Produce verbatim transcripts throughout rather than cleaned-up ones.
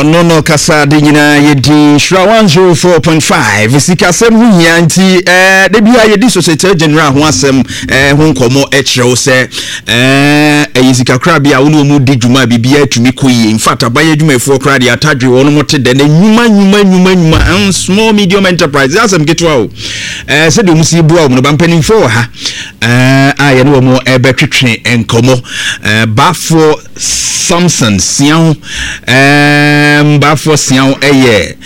Ɔno no kasa de nyinaa yɛdi Nhyira one oh four point five. Sikasɛm ho hia, nti eh, da bia yɛdi Societe General ho asɛm eh, ho nkɔmmɔ. Kyerɛ wo sɛ eh, ɛyɛ sikakorabea a wo ne ɔmu di dwuma a biribiaa atumi kɔ yie. In fact, abayɛ adwumayɛfoɔ koraa deɛ, atadwe wɔn mo te dɛ na nnwuma nnwuma nnwuma nnwuma, small medium enterprise, asɛm ketewa o. eh, sɛdeɛ ɔmu si boa wɔn no ba, mpanimfoɔ wɔ ha eh, a yɛne wɔn ɛbɛtwetwe nkɔmmɔ. eh, baafoɔ Samson Siaw, um, Baafoɔ Siaw ɛyɛ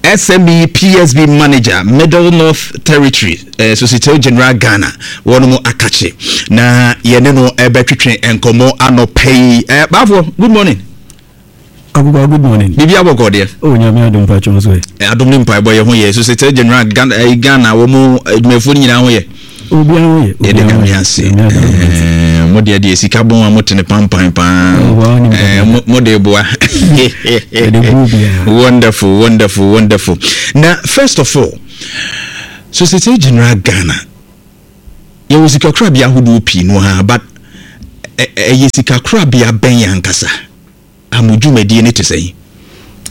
S M E P S B Manager, Middle North Territory, uh, Societe General Ghana. Wɔn mo akakye na yɛne no ɛbɛtwetwe nkɔmmɔ anɔpɛ yi. uh, Baafoɔ, good morning. Agogo, good morning. Biribi abɔkɔ deɛ? Oh, Nyame adom, patwɔn so ɛ. Adom ne mpaebɔ, yɛ ho yɛ. Societe General Ghana, eh, Ghana wɔn mo adwumayɛfoɔ no nyinaa ho yɛ? Obiara ho yɛ. Yɛde Nyame ase. Mo deɛ deɛ sika bɔn a mote ne pampan paa, mo de boa. Wonderful, wonderful, wonderful. Na first of all, Societe General Ghana, yɛwɔ sikakorabea ahodoɔ pii no ha, but ɛyɛ sikakorabea bɛn ankasa a mo dwumadie ne te sɛn?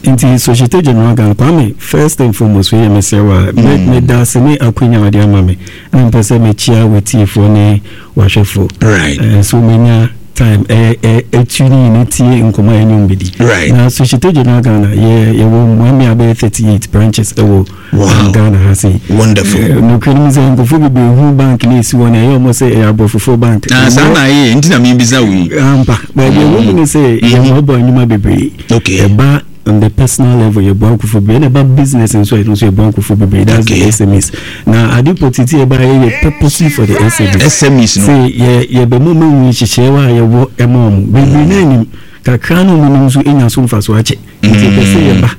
Nti Societe General Ghana, Kwame, first and foremost, wei yɛ mesrɛ wa, mm. meda ase ne akwanya wɔde ama me, na mpɛ sɛ mekyia w'atiefoɔ ne w'ahwɛfoɔ. right. uh, so menya time ɛtu ne nyina tie nkɔmmɔ a ɛne bɛdi. right. Na Societe General Ghana, yɛ yɛwɔ mmoamea bɛyɛ thirty-eight branches ɛwɔ wow. Ghana ha sei. Wonderful. Nokura no mu sɛ nkurɔfoɔ bebree hu bank no ɛsi hɔ no, ɛyɛ ɔmɔ sɛ ɛyɛ aborɔfofoɔ bank. Ah, saa na ayɛ nti na membisa wo yi. Ampa, baabi ɛwɔ mu ne sɛ yɛmmɔbɔ nnwuma bebree. Okay. Ɛba on the personal level, yɛboa nkurɔfoɔ bebree, ɛna ɛba business nso, ɛno nso yɛboa nkurɔfoɔ bebree. That's okay. The S M Es na ade pɔtiti ɛba, yɛyɛ purposely for the S M Es. S M Es no. Sɛ yɛ yɛbɛma ɔmo ehu nhyehyɛeɛ a yɛwɔ ɛma ɔmo bebree naa nim kakra na ɔmo nim nso enya so mfa so akyɛ, nti yɛpɛ sɛ yɛba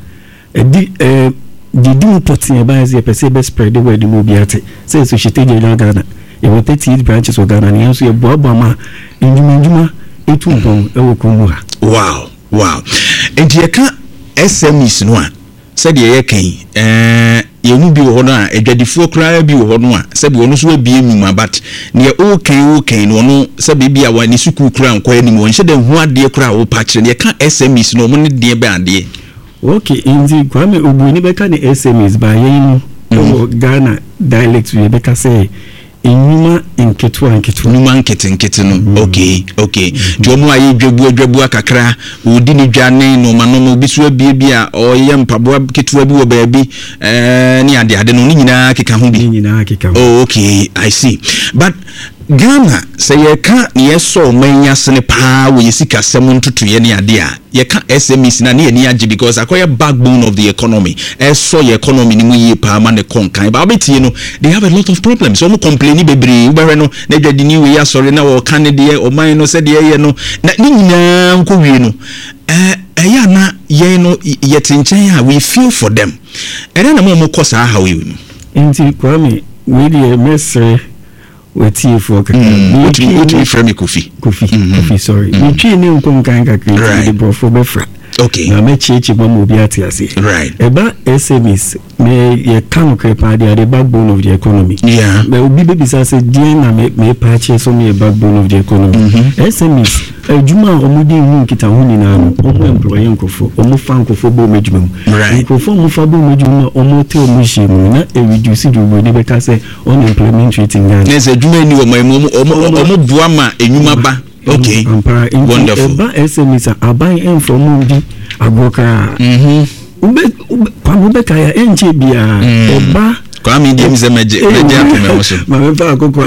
ɛdi ɛɛ deɛ di mu pɔtee ɛba yɛ sɛ yɛpɛ sɛ yɛbɛ spread the word mu, obi ate sɛ Societe General Ghana, yɛwɔ thirty eight branches wɔ Ghana, na yɛn nso yɛboaboa ma ndwuma ndwuma etu mpɔn ɛwɔ kurom ha. wow wow nti yɛka S M Es no a, sɛdeɛ yɛka yi, ɛɛ yɛn mu bi wɔ hɔ no a, adwadifoɔ koraa bi wɔ hɔ no a, sɛbi ɔno nso abie nnwuma, but neɛ ɔrekan ɔrekan no, ɔno sɛbi bi a wa ne sukuu koraa nkɔ anim, ɔnhyɛ dɛ nhu adeɛ koraa a ɔrepa akyerɛ no. Yɛka S M Es no, ɔmo ne deɛ bɛn adeɛ? Okay, nti Kwame, oburoni bɛka ne S M Es ba, yɛn no ɛwɔ Ghana dialect yɛbɛka sɛ nnwuma nketewa nketewa. Nnwuma nketenkete no. okay okay nti wɔn a yɛ dwabua dwabua kakra, wɔdi ne dwa ne nneɛma nneɛma, obi so abie bi a ɔyɛ mpaboa ketewa bi wɔ baabi ɛɛ ne ade ade no ne nyinaa keka ho bi. Ne nyinaa keka ho. Oh, okay, I see. But Ghana, sɛ yɛka ne yɛsɔ ɔman yi asene paa wɔ yɛ sikasɛm ntotoeɛ ne adeɛ a, yɛka S M Es na ne yɛni agye because akɔyɛ backbone of the economy, ɛsɔ yɛ economy no mu yie paa ma ne kɔ nkan. Ba wobɛtie no, they have a lot of problems. Wɔn complain bebree. Wobɛhwɛ no na adwadini wei asɔre na wɔka ne deɛ ɔman no sɛdeɛ ɛyɛ no, na ne nyinaa nkɔ wie no, ɛɛ ɛyɛ ana yɛn no yɛte nkyɛn a, we feel for them. Ɛdɛn na mo a wɔkɔ saa haw yi mu? Nti Kwame, wei deɛ mɛsrɛ watiefoɔ kakra. Mm, wotumi wotumi frɛ me Kofi. Kofi mm -hmm. Kofi, sorry. mm. Metwi ne nkɔ nkan kakra, nti mede borɔfoɔ bɛfra okay. na mɛkyiakyia mu ama obi ate aseɛ. Right. Ɛba S M Es, me yɛka nokorɛ paa deɛ, ade backbone of the economy. Yeah. Bɛ obi bɛbisa sɛ deɛn na mepa akyerɛ sɛ ɔmo yɛ backbone of the economy? mm -hmm. S M Es adwuma a ɔmo de hu nkitaho nyinaa no, ɔmo employ nkurɔfoɔ, ɔmo fa nkurɔfoɔ bɔ ɔmo adwuma mu. Right. Nkurɔfoɔ a ɔmo fa bɔ ɔmo adwuma mu a ɔmo te ɔmo hyia mu no, na ɛreduce deɛ oburoni bɛka sɛ unemployment rate in Ghana. Ne sɛ adwuma ni wɔ man mu, ɔmo ɔmo boa ma enwuma ba. Okay. Ampara, nti wonderful. Ɛba S M Es a, aban ɛnfa ɔmo ndi agorɔ koraa. Mhm. Wobɛ wobɛ Kwame, wobɛka ya ɛnkyɛ biara ɛba. Kwame di mi sɛ mɛgye mɛgye ato mɛ ho so. Maame fa akoko.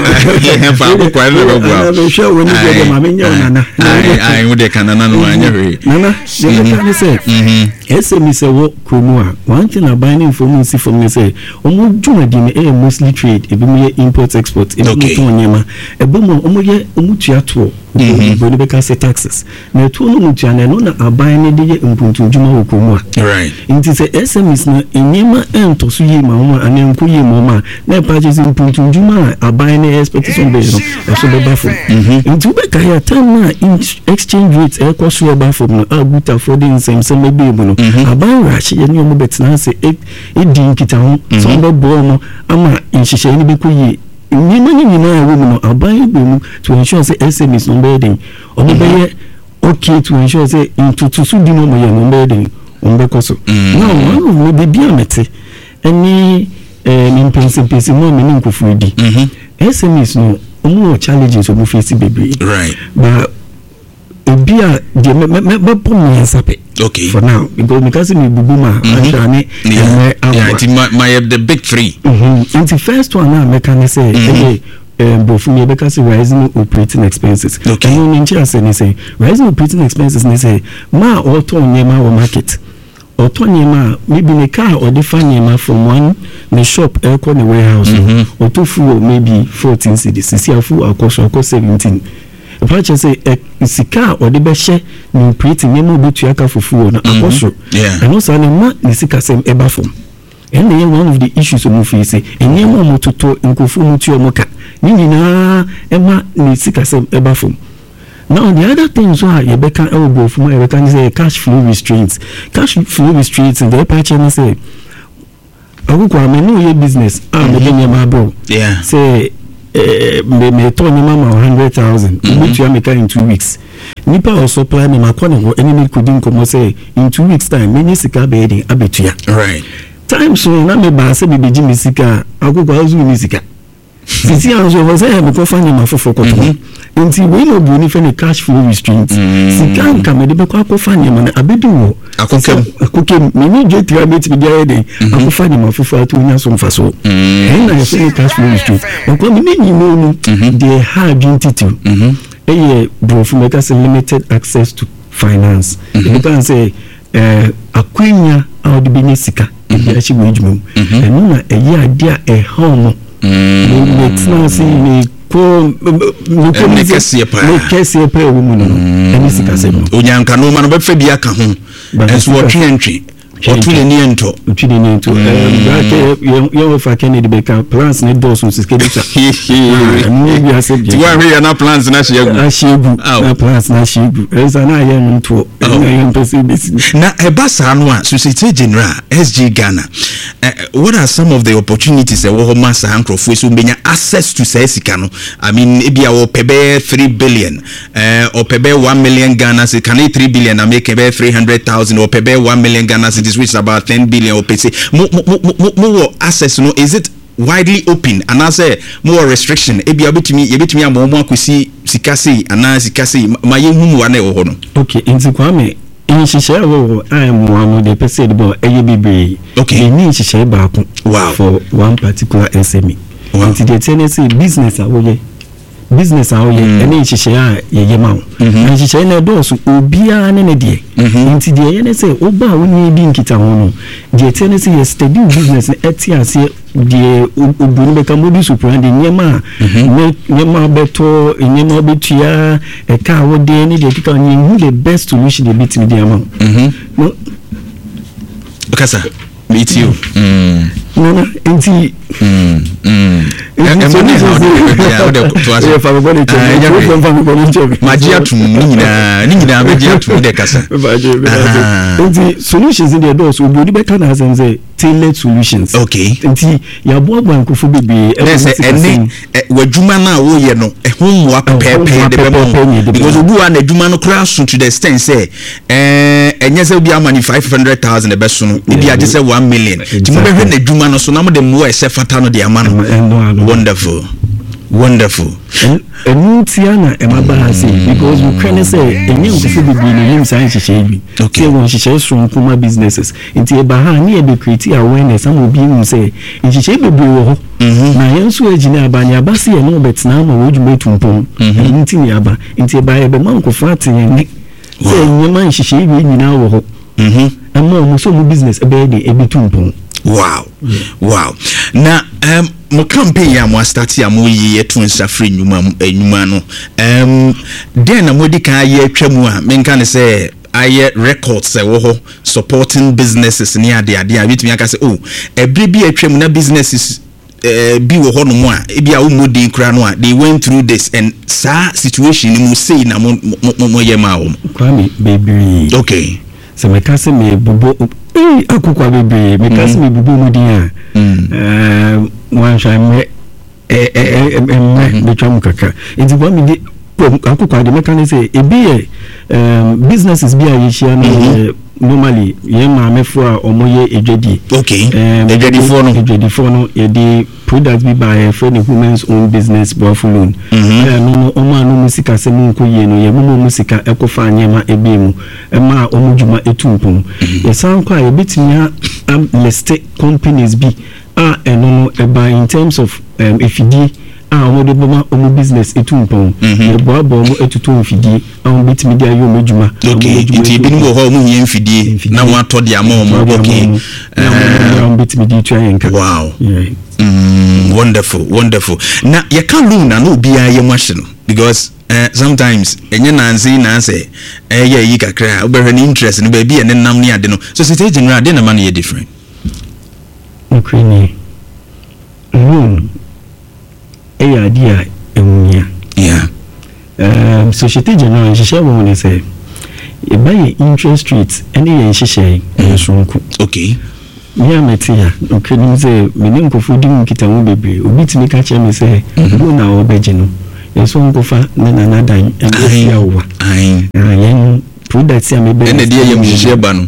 Fa akoko ɛna bɛ bu awo. Mehwɛ wo ni deɛ, maame nyɛ wo nana. Ayi ayi, wo deɛ ka nana no anyɛ hwee. Nana deɛ bɛka ne sɛ S M Es ɛwɔ kurom a, one thing aban ne nfɔm nsi fam ne sɛ wɔn dwumadi no ɛyɛ mostly trade. Ebi mo yɛ import export, ebi mo tɔn nneɛma ɛbɛ mu a wɔn yɛ, wɔn tua toɔ. Oburoni bɛka sɛ taxes, na ɛtoɔ no mu tua no, ɛno na aban no de yɛ mpuntudwuma wɔ kurom a. Right. Nti sɛ S M Es no nneɛma ɛntɔ so yie ma wɔn a, anaa nkɔ yie ma wɔn a, na ɛpa kyerɛ sɛ mpuntudwuma a aban no expect sɛ ɔbɛyɛ no, ɛso bɛba fam. Nti wobɛka yɛ time no a exchange rate ɛkɔ so ɛba fam no a, gutafoɔ de nsɛmsɛm ɛbɛɛ mu no, aban wɔ ahyɛ ne wɔn bɛtena ase ɛdi nkitaho sɛ wɔn bɛboa wɔn ama nhyehyɛeɛ no bɛkɔ yie. Nneɛma no nyinaa ɛwɔ mu no, aban bɔ mu to ensure sɛ S M Es no bɛyɛ den, wɔn bɛyɛ okay, to ensure sɛ ntotoso di no wɔn yɛ no, wɔn bɛyɛ den, Wɔn bɛkɔ so. Now, one of me beebi a mete ɛne ɛɛ mpɛnsɛmpɛnsɛ mu a me ne nkurɔfoɔ di, S M Es no, wɔn wɔ challenges wɔn face bebree. Right but ebi a deɛ mɛ mɛ mɛbɔ mmiɛnsa pɛ okay for now, because meka sɛ mebubu mu a, ahwɛ ne mmerɛ yeah aboa. Nti ma ma yɛ the big three. Mhm. Nti first one a mɛka ne sɛ ɛyɛ ɛɛ borɔfo mi yɛbɛka sɛ rising operating expenses. Okay. Ɛno ne nkyɛn ase ne sɛ rising operating expenses ne sɛ maa ɔtɔn nneɛma wɔ market, ɔtɔ nneɛma a, maybe ne car ɔde fa nneɛma from one ne shop ɛkɔ ne warehouse no, ɔtɔ fuel maybe fourteen cedis. Sisi a fuel akɔ so akɔ seventeen, ɛfa kyerɛ sɛ ɛ sika a ɔde bɛhyɛ ne operating nneɛma a ɔbɛtua ka for fuel no akɔ soro. Yeah. Ɛno saa no ma ne sikasɛm ɛba fam. Ɛna ɛyɛ one of the issues ɔmo face. Nneɛma a ɔmo totɔ, nkurɔfoɔ ɔmo tua ɔmo ka ne nyinaa, ɛma ne sikasɛm ɛba fam. Now, the other thing nso a yɛbɛka ɛwɔ borɔfo mu a yɛbɛka ne sɛ cash flow restraints. Cash flow restraints deɛ, ɛpa kyerɛ ne sɛ akoko a me ne oyɛ business a mede nneɛma abrɛw Yeah. sɛ ɛɛ me metɔ nneɛma ma hundred thousand, obetua me ka in two weeks. Nipa a ɔsupply me, ma kɔ ne hɔ ɛne ne kodi nkɔmɔ sɛ in two weeks time menye sika bɛyɛ den abɛtua. Right time so na me baa sɛ mebɛgye me sika a, akoko azu ne sika sisi a nso ɛwɔ sɛ mekɔfa nneɛma foforɔ kɔtɔ. Nti wei na oburoni fɛ ne cash flow restraint. Sika nka mede bɛkɔ akɔfa nneɛma no abɛdi wɔ Akokam. Akokam mene dwe tira mɛtumi de ayɛ den akɔfa nneɛma foforɔ ato onya so mfa so. Ɛn na yɛfɛ ne cash flow restraint. Ɔkwa me ne nyinaa mu deɛ, ɛha adwen titiw ɛyɛ borɔfo mɛka sɛ limited access to finance. Ebi kan sɛ ɛɛ akwanya a wɔde bɛnya sika ebi ahyɛ wɔ adwuma mu, ɛno na ɛyɛ adeɛ a ɛha ɔmo. Mɛtena ase mekɔ mekɔ. Ɛne kɛseɛ paa. Ne kɛseɛ paa ɛwɔ mu no no ɛne sikasɛm no. Onyanka nneɛma no bɛfɛ bi aka ho. But ɛnso sika- wɔtwe ntwe, ɔto n'ani ntɔ. Otwi ne ne nto yɛn wɔfa Kennedy bɛka plans ne dɔɔso, sika bi sa ɛno bi asɛ. Nti woahwɛ yɛ na plans no ahye agu. Ahyɛ egu. Aw. Na plans na ahyɛ egu, ɛnsa na ayɛ no ntoɔ, ɛno na yɛn mpɛ sɛ ebesi. Na ɛba saa no a, Societe Generale, S G Ghana, uh, what are some of the opportunities ɛwɔ hɔ ma saa nkurɔfoɔ yi sɛ wɔbɛnya access to saa sika no? I mean, ebi a wɔpɛ bɛyɛ three billion, uh, ɔpɛ bɛyɛ one million Ghana cedis, can it three billion na make bɛyɛ three hundred thousand, ɔpɛ bɛyɛ one million Ghana cedis, which is about ten billion, ɔpɛ sɛ mo mo mo mo mo wɔ access no, is it widely open anaasɛ mo wɔ restriction? Ebi a wobɛtumi, yɛbɛtumi ama wɔn akɔsi sika sei anaa sika sei? Ma yɛnhu mmoa na ɛwɔ hɔ no. Ok, nti Kwame, nhyehyɛe a ɛwɔ hɔ a mmoa no deɛ, ɛpɛ sɛ yɛde bɔ ɛyɛ bebree. Okay. Yɛnni nhyehyɛe baako Wow. for one particular S M E. Wow. Nti deɛ ɛteɛ ne sɛ business a woyɛ business a woyɛ ɛne nhyehyɛe a yɛyɛ ma wo. Na nhyehyɛe no ɛdɔɔso, obiara ne ne deɛ. Nti deɛ ɛyɛ ne sɛ woba a wone di nkitaho no, deɛ ɛteɛ ne sɛ yɛ study wo business no, ɛte aseɛ deɛ oburoni bɛka modus operandi, nneɛma a ne nneɛma bɛtɔ, nneɛma bɛtua, ɛka a wode ne deɛ ɛkeka ho, yɛhu the best solution deɛ bɛtumi de ama wo. No. Kasa, metie o mm. Nana, nti ɛma ne ha wode bia wode toa so. Fa me bɔne kyɛ Ah, me. ɛnyɛ hwee. Fa me bɔne kyɛ me. Magye atom ne nyinaa, ne nyinaa bɛgye atom de kasa. Ah. Nti solutions deɛ dɔɔso. Oburoni bɛka na asɛm sɛ tailored solutions. Okay. Nti yɛaboaboa nkurɔfoɔ bebree ne ɛwɔ sɛ ne ɛne sikasɛm. ɛ, w'adwuma no a woyɛ no, ɛho mmoa pɛpɛɛpɛ mmoa de bɛma pɛpɛɛpɛ na wo ɛde because bɛma. obi wa n'adwuma no koraa so to the extent sɛ ɛɛ ɛnyɛ sɛ obi ama ne five hundred thousand ɛbɛso no, ebi agye sɛ one million, nti mobɛhwɛ n'adwuma no so na mode mmoa a ɛsɛ fata no de ama no. Ɛma- ɛno ano. Wonderful, wonderful. Ɛn- ɛno tia na ɛma ba ha sei, because nokorɛ ne sɛ ɛnyɛ nkurɔfoɔ bebree na ɛnim saa nhyehyɛe bi Okay. sɛ wɔ nhyehyɛe soronko ma businesses. Nti ɛba ha a, ne yɛbɛ create awareness ama obi hu sɛ nhyehyɛe bebree wɔ hɔ. Na yɛn nso agyina aba ne aba se yɛne wɔbɛtena ama wɔn adwuma atu mpɔn. Ɛno nti ne aba. Nti ɛba yɛbɛma nkurɔfoɔ ate yɛn nne sɛ nneɛma nhyehyɛe wei nyinaa wɔ hɔ ɛma ɔmo sɛ ɔmo business ɛbɛyɛ de ɛbɛtu mpɔn. wow wow na um, mo campaign yi a mo astart a moyi yɛto nsa firi nnwuma mu- eh, nnwuma no, um, dɛn na moadi kan ayɛ atwa mu a menka ne sɛ ayɛ records ɛwɔ hɔ supporting businesses ne adeade a wobɛtumi aka sɛ, oh, ɛberɛ bi a atwa mu na businesses eh, bi wɔ hɔnom a ebi a wommɔ din koraa no a they went through this and saa situation no mu sei na mo mo mo moyɛ maa wɔn? Kwame, bebree. Okay sɛ meka sɛ mebobɔ ee akokwa bebree, meka sɛ mebobɔ mu din a, ɛɛ, wanhwɛ mmerɛ ɛ- ɛ- ɛ- mmerɛ bɛtwa mu kakra. Nti Kwame de akokwa de mɛka ne sɛ ebi yɛ ɛɛm, businesses bi a yɛhyia no yɛ Normally yɛn maamefoɔ a wɔyɛ adwadie. Okay. Um, Adwadifoɔ no. Adwadifoɔ no, yɛde product bi ba a yɛfrɛ no Women's Own Business Boafo Loan. Mhm. Ɛno no, ɔmo a no mu sikasɛm nkɔ yie no, yɛmoma ɔmo sika ɛkɔfa nneɛma ebie mu ɛma a ɔmo dwuma etu mpɔn. Yɛsan kɔ a, yɛbɛtumi a list companies bi a ɛno no ɛba in terms of um, efidie a wɔde bɛma ɔmo business etu mpɔn. Mhm. Yɛboaboa ɔmo atutu mfidie a wɔn bɛtumi de ayɛ ɔmo adwuma. Okay, nti ebinom wɔ hɔ a wɔn hia mfidie Mfidie. na wɔn atɔ de ama wɔn. Okay. Na wɔn bɛtumi de tua yɛn ka. Wow. Yeah. Mm, wonderful, wonderful. Na yɛka loan na na obiara yɛ mu ahye no because uh, sometimes ɛnyɛ nanse nansɛ ɛyɛ yi kakra a, wobɛhwɛ ne interest no baabi a ne nam ne ade no. Societe Generale de na ma no yɛ different? Nokorɛ nie, loan ɛyɛ adeɛ a ɛho hia. yeah um, Societe Generale nhyehyɛ wɔ ho ne sɛ yɛba yɛ interest rate ɛne yɛn nhyehyɛe ɛyɛ soronko. Okay me a mete a, nokorɛ nim sɛ me ne nkurɔfoɔ di mu nkitaho bebree, obi tumi ka kyerɛ me sɛ loan a wɔbɛgye no, yɛsɛ ɔnkɔfa ne nana dan ɛne ɛsi awowa. Ayi. Ah, yɛn product a mebɛ Ɛna deɛ yɛ nhyehyɛ ba no.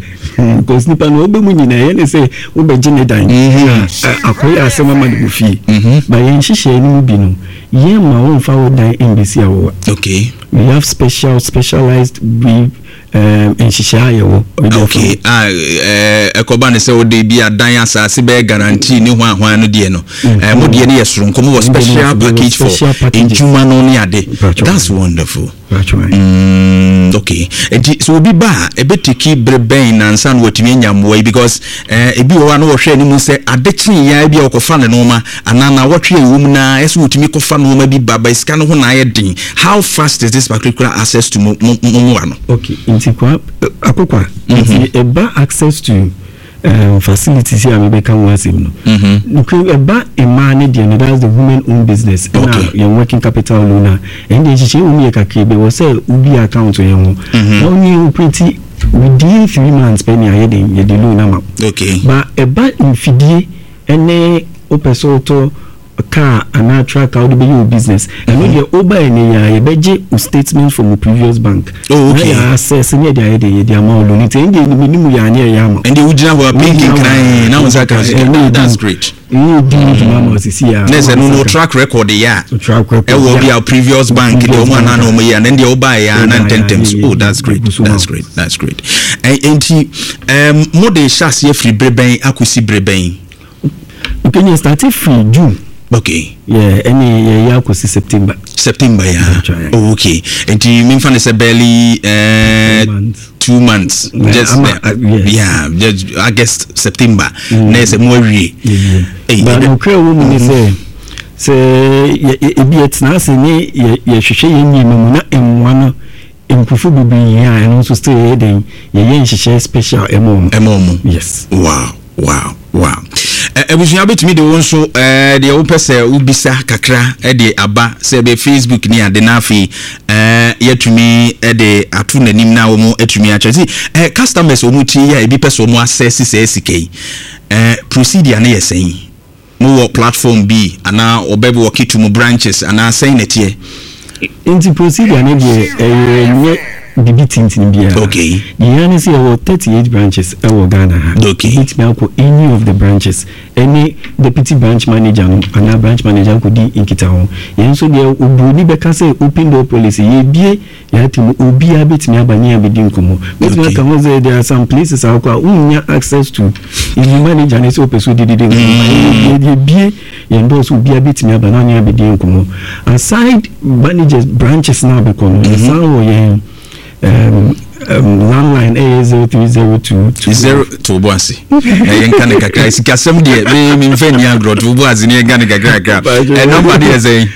Because nipa no ɔbɛ mu nyinaa yɛne sɛ wobɛgye ne dan Mhm. a, akɔyɛ asɛm ama no wɔ fie. Mhm. Ba yɛn nhyehyɛe no mu bi no, yɛn ma wɔmfa wo dan mbɛsi awowa. Okay we have special specialized we um, nhyehyɛe a yɛwɔ wede afa Okay, ah, ɛɛ ɛkɔba ne sɛ wode bi adan asase bɛyɛ guarantee ne hwan hwan no deɛ no, ɛɛ mo deɛ no yɛ soronko, mo wɔ special package for special packages. Ndwuma no ne ade. Mpakyɛw. That's wonderful. Mpakyɛw. Mm, okay, nti sɛ obi ba a, ɛbɛtiki bere bɛn nansa na watumi anya mmoa yi? Because eh, ebi wɔ hɔ a na wɔhwɛ anim sɛ ade kyee ya bi a wɔkɔfa ne nneɛma anaa na wɔtwe a ɛwɔ mu na ɛsɛ wɔtumi kɔfa nneɛma bi ba ba, sika no ho na ayɛ den. How fast is this particular access to mo mo mo mmoa no? Okay, nti kwa akokwa, nti ɛba access to um, facilities yi a mebɛka ho asɛm no, Mhm. nokura ɛba mmaa ne deɛ no, that's the women owned business, ɛna Okay. yɛn working capital loan a, ɛn deɛ nhyehyɛ wɔ mu yɛ kakra bi wɔ sɛ wobi account yɛn ho Mhm. na wone operate within three months pɛ ne ayɛ den yɛde loan ama wo. Okay ba ɛba mfidie ɛne wopɛ sɛ wotɔ car anaa truck a wode bɛyɛ wo business, ɛno deɛ woba ɛne yɛ a, yɛbɛgye wo statement from wo previous bank Oh, okay. na yɛ access ne yɛde ayɛ de yɛde ama wo loan, nti ɛno deɛ nimanimu yɛ ane ɛyɛ ama wo. Ɛnde wogyina hɔ a, pinki nkran na wo nsa ka sika. Ɛne That's great. Ɛyɛ di dwuma ma osisi a. Ne sɛ no no track record yɛ a track record ɛwɔ bi a previous bank deɛ ɔmo anaa na ɔmo yɛ, ɛnɛ deɛ ɔbaa yɛ a na ntɛntɛm so. Oh, that's great, that's great, that's great. Ɛ nti ɛɛm mo de hyɛ aseɛ firi bere bɛn akɔsi bere bɛn? Okay, yɛ start firi June. Okay yɛ ɛne yɛyɛ akɔsi September. September ya. That's right. Oh, okay, nti memfa ne sɛ barely ɛɛ months. Two months. Yeah, just ama- uh, yes. Yeah, just August, September na yɛ sɛ mo awie. Ɛy, Ba ɛdɛ- nokura wɔ mu ne sɛ sɛ yɛ- yɛ- ebi yɛtena ase ne yɛ- yɛhwehwɛ yɛn nneɛma mu na mmoa no nkurɔfoɔ bebree hia a, ɛno nso still yɛyɛ den yɛyɛ nhyehyɛ special ɛma wɔn. Ɛma ɔmo. Yes. wow wow wow Ɛ- abusua bɛtumi de wo nso ɛɛ deɛ wopɛ sɛ wobisa kakra ɛde aba sɛ ɛbɛ Facebook ne ade, na afei ɛɛ yɛtumi ɛde ato n'anim na wɔn atumi akyerɛ si ɛɛ customers wɔn tie yi a, ebi pɛ sɛ wɔn access sɛ sika yi, ɛɛ procedure ne yɛ sɛn? Mowɔ platform bi anaa ɔbɛ walk to mo branches anaa sɛn na ɛteɛ? Nti procedure no deɛ, ɛyɛ nyɛ bibi tintini biara. Okay. Deɛ ne sɛ yɛwɔ thirty eight branches ɛwɔ Ghana ha. Okay. Wobɛtumi akɔ any of the branches ɛne deputy branch manager no anaa branch manager akɔdi nkitaho. Yɛn nso deɛ, oburoni bɛka sɛ open door policy, yɛbie yɛate mu, obiara bɛtumi aba ne yɛabɛdi nkɔmmɔ. Bɛtumi Okay. aka ho sɛ there are some places a wokɔ a, wonnya access to ebi manager ne sɛ wopɛ sɛ wodididi nkɔmmɔ. Yɛbie yɛn dɔɔ so, obiara bɛtumi aba na ɔne abɛdi nkɔmmɔ. Aside managers branches na abɛkɔ no, yɛsan wɔ yɛn um, um, landline, ɛyɛ zero three zero two Zero to bo ase na yɛnka ne kakra. Sikasɛm deɛ, me memfa nni agorɔ. To bo ase ne yɛnka ne kakra kakra. Ɛ number de yɛ sɛn?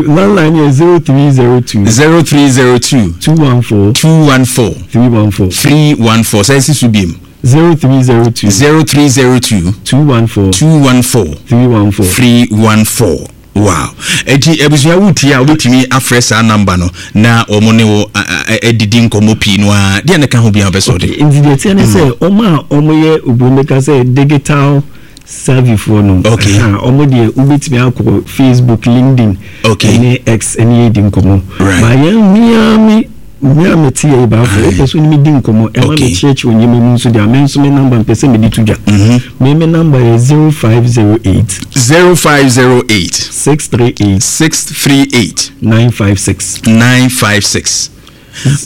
Landline yɛ zero three zero two zero three zero two two one four two one four three one four. three one four. Sɛ ɛsi so biem. zero three zero two zero three zero two two one four two one four three one four. three one four. Wow, eti abusua, wotie a, wobɛtumi afrɛ saa number no na wɔn ne wo adidi nkɔmmɔ pii no a deɛ ne ka ho bia wopɛ sɛ ɔde. Nti deɛ teɛ ne sɛ ɔmo a ɔmo yɛ oburoni bɛka sɛ digital savvy foɔ no, Okay. ɛha, ɔmo deɛ wobɛtumi akɔ Facebook, LinkedIn Okay. ɛne X ɛne yɛdi nkɔmmɔ. Right. Ba yɛn mia me Me a mete yɛ baafo, wopɛ so ne medi nkɔmmɔ, ɛma Okay. mekyerɛkyerɛ nneɛma mu nso deɛ, me nso me number mpɛ sɛ mede to dwa. Me me number yɛ zero five zero eight zero five zero eight six three eight six three eight nine five six. nine five six.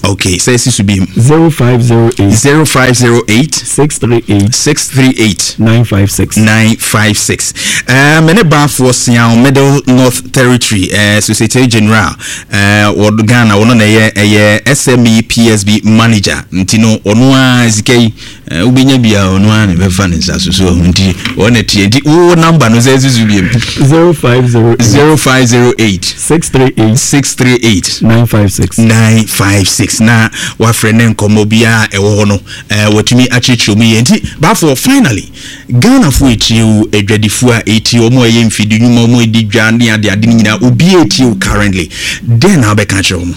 Okay, sɛ ɛsi so bi. zero five zero eight zero five zero eight six three eight six three eight nine five six. nine five six. uh, me ne Baafoɔ Sian, Middle North Territory uh, Societe General uh, wɔ Ghana, ɔno na ɛyɛ ɛyɛ S M E P S B manager, nti no ɔno a sika yi uh, wobɛnya bia, ɔno a na ɛbɛfa ne nsa so so nti ɔna tie. Nti wo number no, sɛ ɛsi so biom. zero five zero eight zero five zero eight six three eight six three eight nine five six. nine five six, na wafrɛ ne nkɔmmɔ biara ɛwɔ hɔ no, eh, watumi akyerɛkyerɛ mu yie. Nti Baafoɔ, finally, Ghanafoɔ ɛtie wo, adwadifoɔ a ɛtie wɔn a ɛyɛ mfidi nnwuma, wɔn a ɛdi dwa ne ade ade no nyinaa, obiara ɛtie wo currently, dɛn na wobɛka kyerɛ wɔn?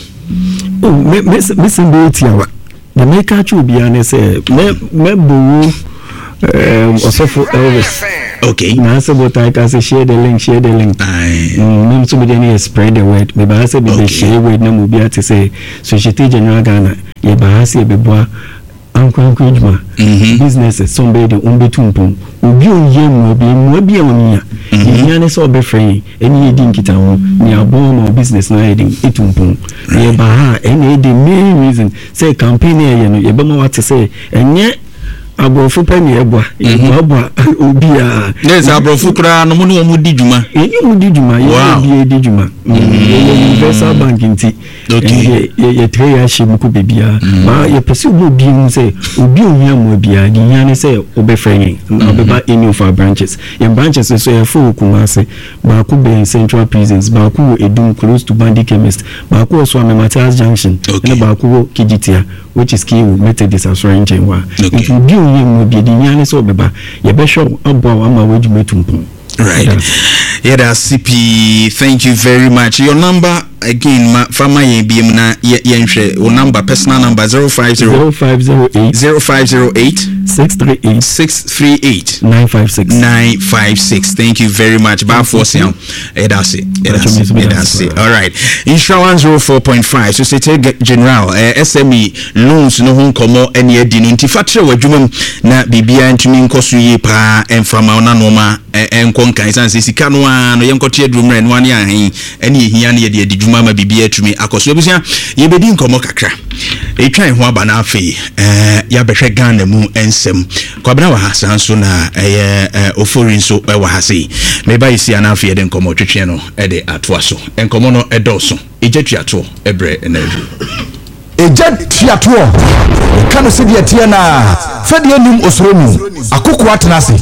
Oh, me me mesɛm bɛyɛ tiawa. Na meka kyerɛ obiara ne sɛ mɛ mɛbɔwo um, ɔsɔfo Elvis okay na asɛ bɔtae ka sɛ "Share the link, share the link." Aye. Mm, me nso mede ne yɛ "Spread the word." Mebaa sɛ mebɛ Okay. share word na ma obi ate sɛ Societe General Ghana, yɛbaa sɛ yɛbɛboa ankorankora adwuma, Mhm. businesses sɛ ɔmbɛyɛ de ɔmbɛtu mpɔn. Obi a ɔyɛ mmoa bi, mmoa bi a ɔnyia yɛhia ne sɛ ɔbɛfrɛ yɛn ɛne yɛdi nkitaho ne aboa ma wo business no ayɛ den ɛtu mpɔn. Na yɛba ha a, ɛne ɛyɛ the main reason sɛ campaign no yɛyɛ no, yɛbɛma wate sɛ ɛnyɛ aborɔfo pɛ ne yɛboa, yɛboaboa obiaa. Ne sɛ aborɔfo koraa no, mo ne wɔn di dwuma? Yɛne mu di dwuma, yɛne Wow. obiara di dwuma. Mm, yɛyɛ universal bank nti Okay. ɛne yɛ- yɛtrɛ yɛ ahyɛ mu kɔ baabiara ma yɛpɛ sɛ obi obi hu sɛ obi a ohia mmoa biara de hia ne sɛ wobɛfrɛ yɛn na wobɛba any of our branches. Yɛn branches nso, yɛfo wɔ Kumase, baako bɛn Central Prisons, baako wɔ Edum close to Bandi Chemist, baako wɔ Suame Matias Junction, Okay. ɛna baako wɔ Kejetia, which is Kewu Methodist asɔre nkyɛn hɔ a. Okay. Nti obi a ohia mmoa biara de hia ne sɛ wobɛba, yɛbɛhwɛ wo, aboa wo ama w'adwuma atu mpɔn. Right, yɛda ase pii, thank you very much. Your number again, ma fama yɛn biom na yɛ- yɛnhwɛ wo number, personal number, zero five zero zero five zero eight zero five zero eight six three eight six three eight nine five six. nine five six. Thank you very much, Baafoɔ Sian. Yɛda ase, yɛda ase, yɛda ase. All right, Nhyira one zero four point five, Societe General eh, S M E loans no ho nkɔmmɔ ɛne adi no. Nti fa kyerɛ w'adwuma mu na biribiara ntumi nkɔ so yie paa, ɛmframa wo na nnoɔma eh, ɛnkɔ nkan, ɛsiane sɛ sika no ara no yɛnkɔte aduru mmerɛ no ne ahen ɛne ɛhia no, yɛde adi dwuma ma biribiara atumi akɔ so. Abusua, yɛbɛdi nkɔmmɔ kakra, ɛtwa ho aba no, afei eh, yɛabɛhwɛ Ghana mu nsɛm. Kwabena wɔ ha saa nso na ɛyɛ eh, Ofori nso ɛwɔ ha sei. Meba yɛsia no, afei yɛde nkɔmmɔ twetwe no ɛde atoa so. Nkɔmmɔ no ɛdɔɔso, ɛgya tuatoɔ ɛberɛ ɛna aduru. Ɛgya tuatoɔ ɛka no sɛdeɛ teɛ no a, fɛdeɛ nim osoro mu akokoa tena ase.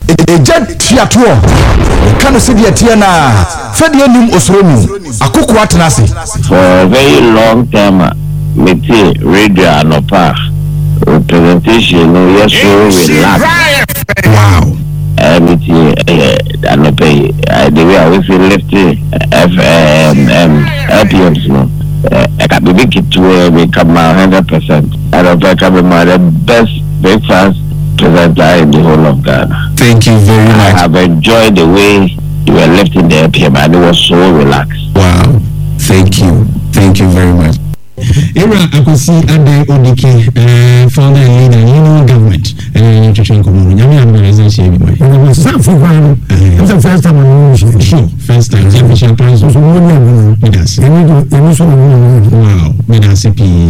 Ɛgya tuatoɔ ɛka no sɛdeɛ teɛ no a, fɛdeɛ nim osoro mu akokoa tena ase. For a very long time a mete radio anɔpa a, presentation no yɛ so relax. wow ɛɛ metie ɛyɛ anɔpa yi, ɛɛ the way a wosi lift F M M L P Ms no, ɛka biribi ketewa bi ka ma hundred percent. Anɔpa ka mi ma the best breakfast presenter in the whole of Ghana. Thank you very I much. have enjoyed the way you were lifting the L P M and it was so relaxed. Wow, thank you, thank you very much. Ewura Akwasi Ade Odike, uh, founder and leader, Union Government, twetwe nkɔmmɔ no. Nyame adom a, yɛsan hyia bi. Sáfù kwan no, ɛ sɛ first time ɔno nhyɛ. Sure, first time sɛ mfihyia kwan so. Nso mo ní ɛmu no. Meda ase. Ɛni do ɛni so na mo ní. Wow, meda ase pii.